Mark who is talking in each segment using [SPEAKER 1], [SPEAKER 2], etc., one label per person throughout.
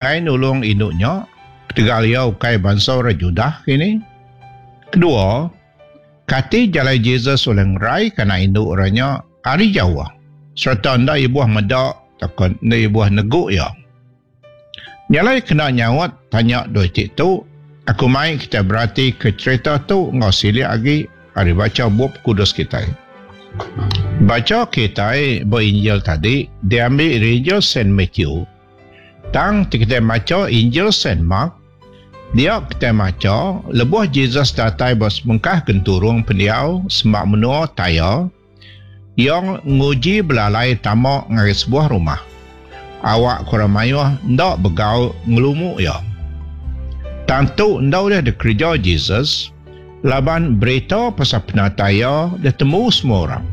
[SPEAKER 1] Enggai nulung indu nya ketegal iya ukai bansa orang Judah kini? Kedua, kati jalai Jesus ulih ngeraika anak indu orang nya ari jauh sereta enda ibuh meda tauka enda ibuh negu iya? Nya alai kena nyaut tanya dua iti tu, aku mai kitai beratika cherita tu enggau silik agi ari bacha Bup Kudus kitai. Bacha kitai ba Injil tadi diambi ari Injil Saint Matthew. Tang ti kitai macha Injil Saint Mark, dia kitai macha lebuh Jesus datai ba sebengkah genturung pendiau semak menua Tyre, iya nguji belalai tama ngagai sebuah rumah. Awak ke orang mayuh enda begau ngelumu iya. Tang tu enda ulih dikereja Jesus laban berita pasal penatai iya ditemu semua orang.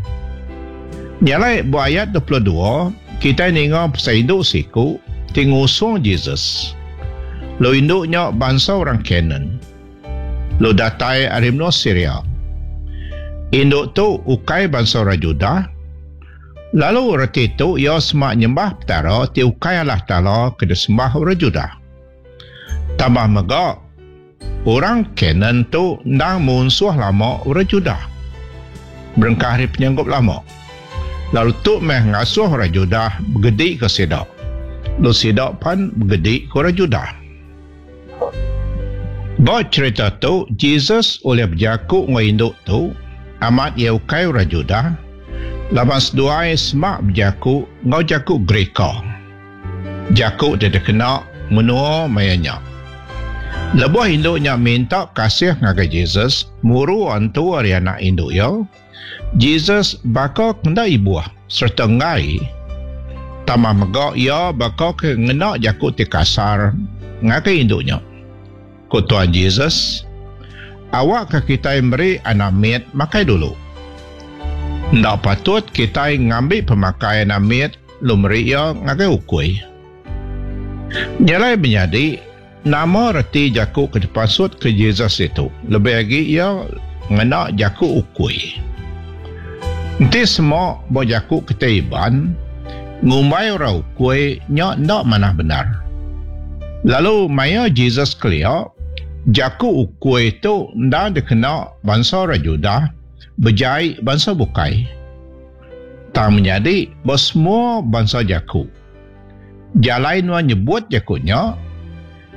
[SPEAKER 1] Nya alai ba ayat 22, kitai ninga pasal indu siku ti ngusung Jesus. Lalu indu nya bansa orang Kanaan, lalu datai ari menua Siria. Indu tu ukai bansa orang Judah, lalu reti tu iya semak nyembah Petara ti ukai Allah Taala ke disembah orang Judah. Tambah mega, Orang Kanaan tu endang munsuh lama orang Judah. Berengkah ari penyanggup lama. Lalu tu meh ngasuh orang Judah begedika sida. Lalu sida pan begedika orang Judah. Ba cherita tu, Jesus ulih bejaku enggau indu tu, amat iya ukai orang Judah, laban seduai semak bejaku enggau jaku Gerika. Jaku ti dikena menua maya nya. Lebuh indu nya minta kasih ngagai Jesus muru antu ari anak indu iya, Jesus baka ke enda ibuh sereta enggai. Tambah mega iya baka ke ngena jaku ti kasar ngagai indu nya. Ku Tuan Jesus, Awakka kitai meri anak mit makai dulu. Enda patut kitai ngambi pemakai anak mit lalu meri iya ngagai ukui. Nya alai menyadi, nama reti jaku ke dipasutka Jesus ditu, lebih agi iya ngena jaku ukui. Enti sema ba jaku kitai Iban, ngumbai orang ukui nya enda manah bendar. Lalu maya Jesus kelia, jaku ukui tu endang dikena bansa orang Judah bejai bansa bukai. Tang menyadi ba semua bansa jaku. Jalai nuan nyebut jaku nya,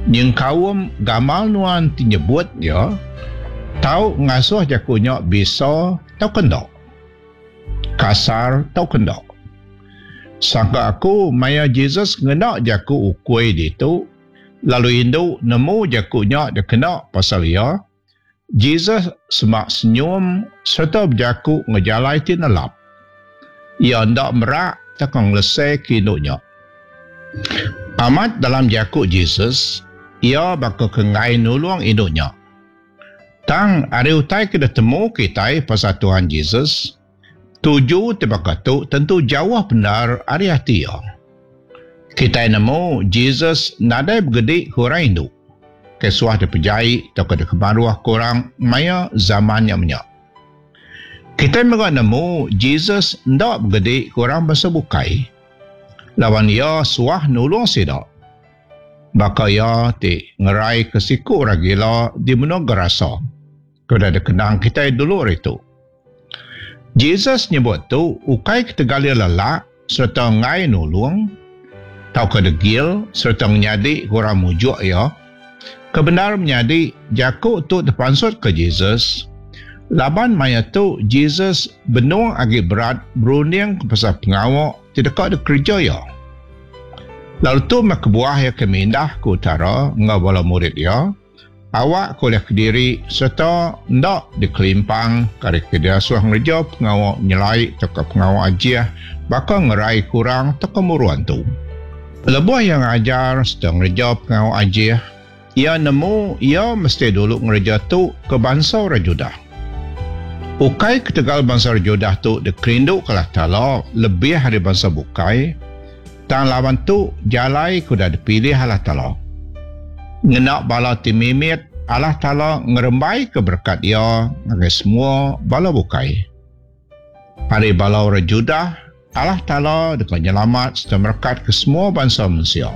[SPEAKER 1] nyengkaum gamal nuan ti nyebut iya, tau ngasuh jaku nya bisa tauka enda. Kasar tauka enda. Sangka aku maya Jesus ngena jaku ukui ditu, lalu indu nemu jaku nya dikena pasal iya, Jesus semak senyum sereta bejaku enggau jalai ti nelap. Iya enda merak tauka ngeleseka indu nya. Amat dalam jaku Jesus, iya baka ke enggai nulung indu nya. Tang ari utai ke ditemu kitai pasal Tuhan Jesus, tuju ti baka tu tentu jauh bendar ari ati iya. Kitai nemu Jesus nadai begedi ke orang indu, ke suah dipejai tauka dikemaruhka orang maya zaman nya menya. Kitai mega nemu Jesus enda begedi ke orang bansa bukai, laban iya suah nulung sida. Baka iya ti ngeraika siku orang gila di menua Gerasa ke udah dikenang kitai dulu ari tu. Jesus nyebut tu ukai ketegal iya lelak sereta enggai nulung tauka degil sereta ngenyadika orang mujuk iya. Ke bendar menyadi, jaku tu tepansutka Jesus laban maya tu Jesus benung agi berat berundingka pasal pengawa ti deka dikereja iya. Lalu tu meh kebuah iya ke mindah ke utara enggau bala murid iya, awak ke ulih kediri sereta enda dikelimpang ke ari ke diasuh ngereja pengawa nyelai tauka pengawa ajih baka ngeraika orang tauka muru antu. Lebuh iya ngajar sereta ngereja pengawa ajih, iya nemu iya mesti dulu ngereja tu ke bansa orang Judah. Ukai ketegal bansa orang Judah tu dikerinduka Allah Taala lebih ari bansa bukai, tang laban tu jalai ke udah dipilih Allah Taala. Ngena bala ti mimit, Allah Taala ngerembaika berekat Iya ngagai semua bala bukai. Ari bala orang Judah, Allah Taala deka nyelamat sereta merekatka semua bansa mensia.